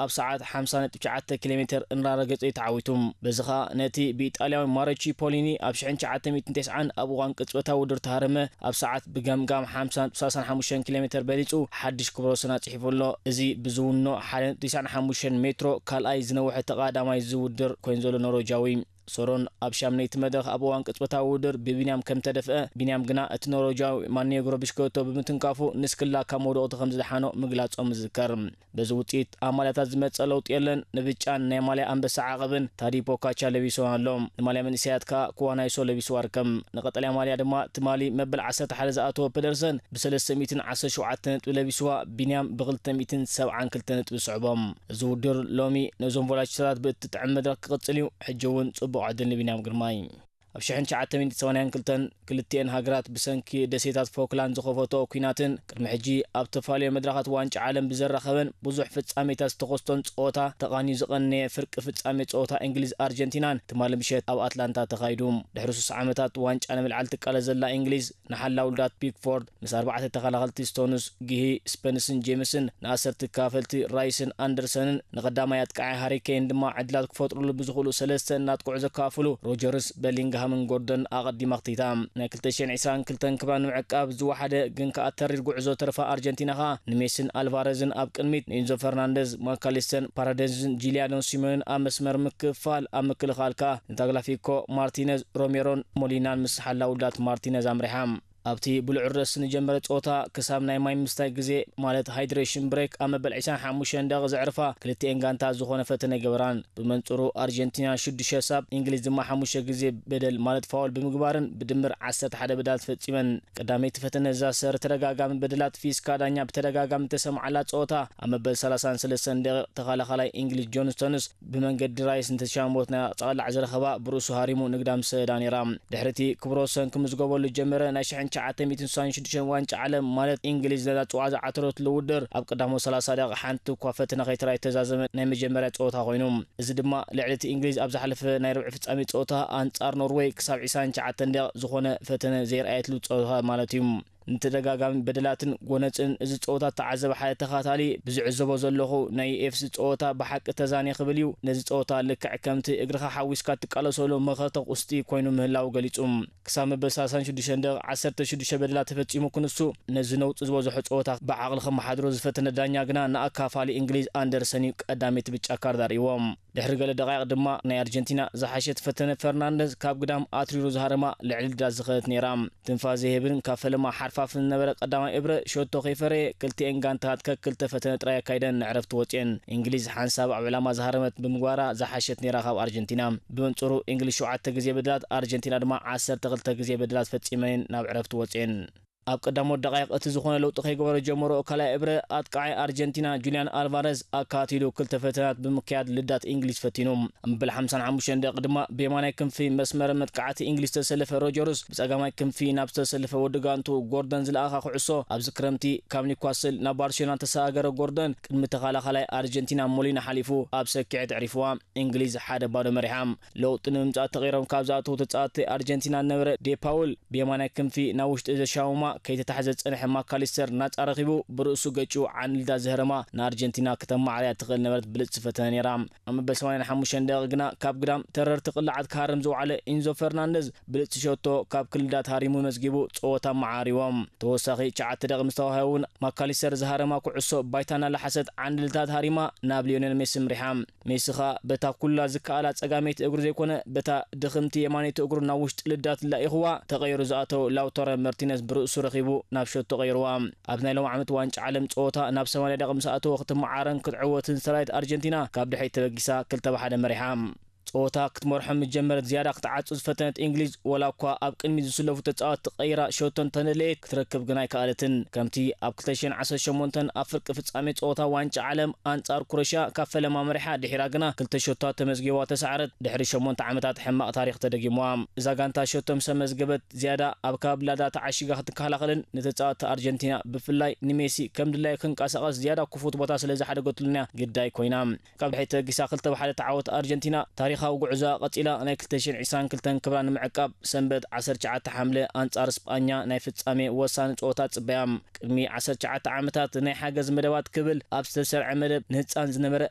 ኣብ ሰዓት ሓምሳ ነጥቢ ትሽዓተ ኪሎ ሜተር እናረገጸ እዩ ተዓዊቱ። በዚ ኸኣ ነቲ ብኢጣልያዊ ማረቺ ፖሊኒ ኣብ ሽሕን ትሽዓተ ሚእትን ተስዓን ኣብ እዋን ቅጽበታዊ ውድድር ተሃረመ ኣብ ሰዓት ብገምጋም ሓምሳ ነጥቢ ሰላሳን ሓሙሽተን ኪሎ ሜተር በሊጹ ሓድሽ ክብረ ወሰን ኣጽሒፉ ኣሎ። እዚ ብዝውኖ ሓደ ነጥቢ ተስዓን ሓሙሽተን ሜትሮ ካልኣይ ዝነውሐ ተቐዳማይ ዝውድር ኮይኑ ዘሎ ኖርወጃዊ። ሶሮን ኣብ ሻምነይቲ መድረኽ ኣብ እዋን ቅጽበታዊ ውድድር ብቢንያም ከም ተደፍአ፣ ቢንያም ግና እቲ ኖርወጃዊ ማኔግሮ ብሽኮቶ ብምትንካፉ ንስክላ ካብ መውደቕቱ ከም ዝደሓኖ ምግላጾም ይዝከር። በዚ ውጽኢት ኣብ ማልያታት ዝመጸ ለውጢ የለን። ንብጫን ናይ ማልያ ኣንበሳ ዓቐብን ታዲ ፖካቻ ለቢሱ ኣሎ። ንማልያ መንእሰያት ከኣ ኩዋናይሶ ለቢሱ ኣርከም። ንቐጠልያ ማልያ ድማ ትማሊ መበል ዓሰርተ ሓደ ዝኣተወ ፐደርሰን ብሰለስተ ሚእትን ዓሰርተ ሸውዓተ ነጥቢ ለቢስዋ፣ ቢንያም ብክልተ ሚእትን ሰብዓን ክልተ ነጥቢ ዝስዕቦም። እዚ ውድድር ሎሚ ነዞም ቮላችተራት ብእትጥዕም መድረኽ ክቕጽል እዩ። ሕጂ እውን ጽቡቕ ዕድል ንቢንያም ግርማይ። ኣብ ሽሕን ትሽዓተ ሚእትን ሰማንያን ክልተን ክልቲኤን ሃገራት ብሰንኪ ደሴታት ፎክላንድ ዝኸፈትኦ ኲናትን ቅድሚ ሕጂ ኣብ ተፋልዮ መድረኻት ዋንጫ ዓለም ብዘራኸበን ብዙሕ ፍጻሜታት ዝተኸስቶን ጸወታ ተቓንዩ ዝቐነየ ፍርቂ ፍጻሜ ጸወታ እንግሊዝ ኣርጀንቲናን ትማሊ ምሸት ኣብ ኣትላንታ ተኻይዱ። ድሕሪ ሱስ ዓመታት ዋንጫ ንምልዓል ትቃለስ ዘላ እንግሊዝ ንሓላው ውሉዳት ፒክፎርድ ምስ ኣርባዕተ ተኸላኸልቲ ስቶንስ፣ ጊሂ፣ ስፐንስን ጄምስን፣ ንኣሰርቲ ተካፈልቲ ራይስን ኣንደርሰንን፣ ንቐዳማይ ኣጥቃዓይ ሃሪ ኬን ድማ ዕድላት ክፈጥሩሉ ብዝኽእሉ ሰለስተ እናጥቅዑ ዘካፍሉ ሮጀርስ፣ በሊንግሃምን ጎርደን ኣቐዲማ ኣኽቲታ። ናይ ክልተ ሽሕን ዕስራን ክልተን ክብራ ንምዕቃብ ዝወሓደ ግን ከኣ ተሪር ጉዕዞ ተርፋ ኣርጀንቲና ኸኣ ንሜስን ኣልቫረዝን ኣብ ቅድሚት ንኢንዞ ፈርናንደዝ፣ ማካሊስተን፣ ፓራደዝን ጂሊያኖ ሲሞንን ኣብ መስመር ምክፍፋል፣ ኣብ ምክልኻል ከኣ ንታግላፊኮ፣ ማርቲነዝ፣ ሮሜሮን ሞሊናን ምስ ሓላው ውሉዳት ማርቲነዝ ኣምሪሓ። ኣብቲ ብልዑል ረስኒ ዝጀመረ ጸወታ ክሳብ ናይ ማይ ምስታይ ግዜ ማለት ሃይድሬሽን ብሬክ ኣብ መበል ዕስራን ሓሙሽተን ደቂቕ ዘዕርፋ ክልቲኤን ጋንታ ዝኾነ ፈተነ ኣይገበራን። ብመንጽሩ ኣርጀንቲና ሽዱሽተ ሳብ፣ እንግሊዝ ድማ ሓሙሽተ ግዜ በደል ማለት ፋውል ብምግባርን ብድምር ዓሰርተ ሓደ በደላት ፈጺመን። ቀዳመይቲ ፈተነ እዛ ሰር ተደጋጋሚ በደላት ፊስካ ዳኛ ብተደጋጋሚ ተሰምዓላ ጸወታ ኣብ መበል ሰላሳን ሰለስተን ደቂቕ ተኸላኻላይ እንግሊዝ ጆን ስቶንስ ብመንገዲ ራይስ ንተሻሞት ናይ ጸቕላዕ ዝረኸባ ብርእሱ ሃሪሙ ንግዳ ምስ ሰደዳ ነይራ። ድሕሪ እቲ ክብረ ወሰን ክምዝገበሉ ዝጀመረ ናይ ሽሕን ትሽዓተ ሚእትን ስሳን ሽዱሽተን ዋንጫ ዓለም ማለት እንግሊዝ ነዛ ጽዋዕ ዝዓተረትሉ ውድድር ኣብ ቀዳሞት ሰላሳ ደቂቕ ሓንቲ እኳ ፈተነ ከይተራእየት ዝተዛዘመ ናይ መጀመርያ ጸወታ ኮይኑ። እዚ ድማ ልዕሊ እቲ እንግሊዝ ኣብ ዝሓለፈ ናይ ርብዒ ፍጻሜ ጸወታ ኣንጻር ኖርወይ ክሳብ ዕስራን ትሽዓተን ደቂቕ ዝኾነ ፈተነ ዘይረኣየትሉ ጸወታ ማለት እዩ። ንተደጋጋሚ በደላትን ጎነጽን እዚ ጸወታ እተዓዘበ ሓደ ተኸታታሊ፣ ብዝዕዘቦ ዘለኹ ናይ ዩኤፍሲ ጸወታ ብሓቂ ተዛንየ ክብል እዩ። ነዚ ጸወታ ልክዕ ከምቲ እግርኻ ሓዊስካ እትቃለሰሉ መኸተ ቁስጢ ኮይኑ ምህላዉ ገሊጹ። ክሳብ መበል ሰላሳን ሽዱሽተን ደቂቕ ዓሰርተ ሽዱሽተ በደላት ተፈጺሙ ክንሱ፣ ነዚ ነውጺ ዝበዝሖ ጸወታ ብዓቕሊ ከመሓድሮ ዝፈተነ ዳኛ ግና ንኣካፋሊ እንግሊዝ ኣንደርሰን እዩ ቀዳመይቲ ብጫ ካርድ ኣርእይዎ። ድሕሪ ገለ ደቓይቕ ድማ ናይ ኣርጀንቲና ዝሓሸት ፈተነ ፈርናንደዝ ካብ ግዳም ኣትሪሩ ዝሃረማ ልዕሊ ልዳት ዝኸደት ነይራ። ትንፋስ ዘይህብን ካብ ፈለማ ሓርፋፍን ዝነበረ ቀዳማይ እብረ ሸቶ ከይፈረየ ክልቲኤን ጋንታት ከክልተ ፈተነ ጥራይ ኣካይደን ንዕረፍቲ ወጽኤን። እንግሊዝ ሓንሳብ ኣብ ዕላማ ዝሃረመት ብምግባራ ዝሓሸት ነይራ ካብ ኣርጀንቲና። ብመንጽሩ እንግሊዝ ሸውዓተ ግዜ በደላት፣ ኣርጀንቲና ድማ ዓሰርተ ክልተ ግዜ በደላት ፈጺመን ናብ ዕረፍቲ ወጽኤን። ኣብ ቀዳሞት ደቃይቕ እቲ ዝኾነ ለውጢ ከይገበረ ጀመሮ ካልኣይ እብረ ኣጥቃዓይ ኣርጀንቲና ጁልያን ኣልቫረዝ ኣካቲሉ ክልተ ፈተናት ብምክያድ ልዳት እንግሊዝ ፈቲኑ። ኣብ መበል ሓምሳን ሓሙሽተን ደቂቕ ድማ ብየማናይ ክንፊ መስመር መጥቃዕቲ እንግሊዝ ዝተሰለፈ ሮጀርስ ብጸጋማይ ክንፊ ናብ ዝተሰለፈ ወዲ ጋንቱ ጎርደን ዝለኣኻ ኩዕሶ ኣብዚ ክረምቲ ካብ ኒውካስል ናብ ባርሴሎና ተሰጋገረ ጎርደን ቅድሚ ተኸላኻላይ ኣርጀንቲና ሞሊና ሓሊፉ ኣብ ሰኪዐት ኣዕሪፍዋ። እንግሊዝ ሓደ ባዶ መሪሓ። ለውጢ ንምምጻእ ተቐይሮም ካብ ዝኣተዉ ተጻወትቲ ኣርጀንቲና ዝነበረ ዴፓውል ብየማናይ ክንፊ ናብ ውሽጢ ዘሻውማ ከይተታሕዘ ዝጸንሐ ማካሊስተር ናጻ ረኺቡ ብርእሱ ገጭ ዓንልዳ ዘህረማ ንኣርጀንቲና ከተማዕርያ ትኽእል ነበረት ብልጽቲ ፈተነ ነይራ። ኣብ መበል ሰማንያን ሓሙሽተን ደቂቕ ግና ካብ ግዳም ተረርቲ ቅላዓት ክሃርም ዝወዓለ ኢንዞ ፈርናንደዝ ብልጽቲ ሸቶ ካብ ክልዳት ሃሪሙ መዝጊቡ ጸወታ መዓሪዎም። ተወሳኺ ትሽዓተ ደቂቕ ምስ ተዋህበ እውን ማካሊስተር ዝሃረማ ኩዕሶ ባይታ እናላሓሰት ዓንድልታት ሃሪማ ናብ ሊዮኔል ሜሲ ምሪሓ። ሜሲ ኸኣ በታ ኩላ ዝከኣላ ጸጋመይቲ እግሩ ዘይኮነ በታ ድኽምቲ የማነይቲ እግሩ ናብ ውሽጢ ልዳት ላኢኽዋ ተቐይሩ ዝኣተወ ላውታሮ መርቲነዝ ብርእሱ ረኺቡ ናብ ሸቶ ቀይርዋ። ኣብ ናይ ሎም ዓመት ዋንጫ ዓለም ጸወታ ናብ ሰማንያ ደቂቕ ምስ ኣተወ ክትመዓረን ክትዕወትን ዝተራየት ኣርጀንቲና ካብ ድሕሪት ተበጊሳ ክልተ ብ ሓደ መሪሓ። ጸወታ ክትመርሖ ምስ ጀመረት ዝያዳ ክትዓጹ ዝፈተነት እንግሊዝ፣ ወላ እኳ ኣብ ቅድሚት ዝስለፉ ተጻወትቲ ቀይራ ሸቶ እንተነለየት፣ ክትረክብ ግን ኣይከኣለትን። ከምቲ ኣብ ክልተ ሽሕን ዓሰርተ ሸሞንተን ኣብ ፍርቂ ፍጻሜ ጸወታ ዋንጫ ዓለም ኣንጻር ክሮሽያ ካብ ፈለማ መሪሓ ድሒራ ግና ክልተ ሸቶታት ተመዝጊባ ተሳዕረት። ድሕሪ ሸሞንተ ዓመታት ሕማቕ ታሪኽ ተደጊምዋ። እዛ ጋንታ ሸቶ ምስ ኣመዝገበት ዝያዳ ኣብ ከባቢ ላዳ ተዓሺጋ ክትከላኸልን ንተጻወትቲ ኣርጀንቲና ብፍላይ ንሜሲ ከም ድላዩ ክንቀሳቐስ ዝያዳ ክፉት ቦታ ስለ ዝሓደገትሉን እያ ግዳይ ኮይና። ካብ ድሕሪት ተበጊሳ ክልተ ብ ሓደ እተዓወተት ኣርጀንቲና ታሪኻዊ ጉዕዞኣ ቀጺላ ናይ ክልተ ሽሕን ዕስራን ክልተን ክብራ ንምዕቃብ ሰንበት ዓሰርተ ትሽዓተ ሓምለ ኣንጻር ስጳኛ ናይ ፍጻሜ ወሳኒ ጸወታ ትጽበያ። ቅድሚ ዓሰርተ ትሽዓተ ዓመታት ናይ ሓገዝ መደባት ክብል ኣብ ዝተሰርዐ መደብ ንህጻን ዝነበረ